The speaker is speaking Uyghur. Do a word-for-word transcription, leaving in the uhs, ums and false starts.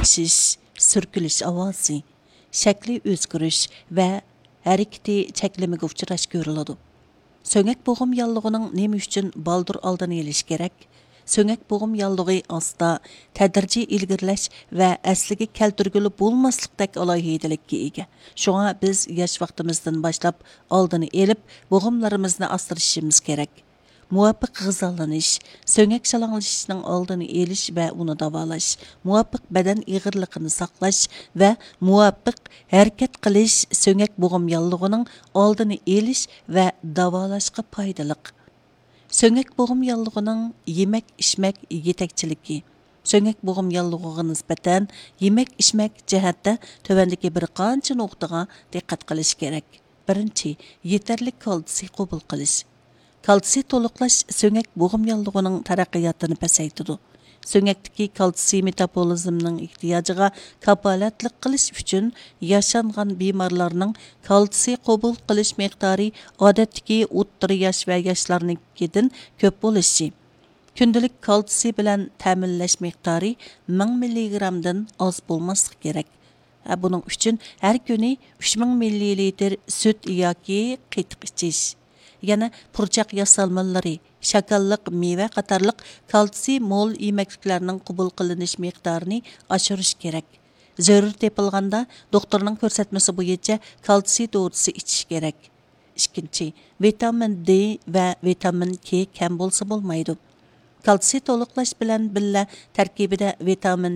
پىشىش، سۈركىلىش ئاۋازى، شەكلى ئۆزگىرىش ۋە ھەرىكىتى چەكلىمىگە ئۇچراش كۆرۈلىدۇ. سۆڭەك بوغۇم ياللۇغىنىڭ نېمە ئۈچۈن بالدۇر ئالدىنى ئېلىش كېرەك؟ سۆڭەك بوغۇم ياللۇغى ئاستا، تەدرىجىي ئىلگىرىلەش ۋە ئەسلىگە كەلتۈرگىلى بولماسلىقتەك ئالاھىدىلىككە ئىگە. شۇڭا بىز ياش ۋاقتىمىزدىن باشلاپ ئالدىنى ئېلىپ، بوغۇملىرىمىزنى ئاسرىشىمىز كېرەك. مۇۋاپىق غىزالىنىش، سۆڭەك شالاڭلىشىشنىڭ ئالدىنى ئېلىش ۋە ئۇنى داۋالاش، مۇۋاپىق بەدەن ئېغىرلىقىنى ساقلاش ۋە مۇۋاپىق ھەرىكەت قىلىش سۆڭەك بوغۇم ياللۇغىنىڭ ئالدىنى ئېلىش ۋە داۋالاشقا پايدىلىق. سۆڭەك بوغۇم ياللۇغىنىڭ يېمەك، ئىچمەك يېتەكچىلىكى. سۆڭەك بوغۇم ياللۇغىغا نىسبەتەن يېمەك، ئىچمەك جەھەتتە تۆۋەندىكى بىر قانچە نۇقتىغا دىققەت قىلىش كېرەك. بىرىنچى، يېتەرلىك كالتسىي قوبۇل قىلىش. كالتسىي تولۇقلاش سۆڭەك بوغۇم ياللۇغىنىڭ تەرەققىياتىنى پەسەيتىدۇ. سۆڭەكتىكى كالتسىي مېتابولىزمنىڭ ئېھتىياجىغا كاپالەتلىك قىلىش ئۈچۈن ياشانغان بىمارلارنىڭ كالتسىي قوبۇل قىلىش مىقدارى ئادەتتىكى ئوتتۇرا ياش ۋە ياشلارنىڭكىدىن كۆپ بولۇشى، كۈندىلىك كالتسىي بىلەن تەمىنلەش مىقدارى مىڭ مىللىگرامدىن ئاز بولماسلىقى كېرەك. ھە، بۇنىڭ ئۈچۈن ھەر كۈنى ئۈچ مىڭ مىللىلىتىر سۈت ياكى قېتىق ئىچىش. يەنە پۇرچاق ياسالمىلىرى، شاكاللىق، مېۋە قاتارلىق كالتسىي مول يېمەكلىكلەرنىڭ قوبۇل قىلىنىش مىقدارىنى ئاشۇرۇش كېرەك. زۆرۈر تېپىلغاندا، دوختۇرنىڭ كۆرسەتمىسى بويىچە كالتسىي دورىسى ئىچىش كېرەك. ئىككىنچى، ۋىتامىن دې ۋە ۋىتامىن كې كەم بولسا بولمايدۇ. كالتسىي تولۇقلاش بىلەن بىللە تەركىبىدە ۋىتامىن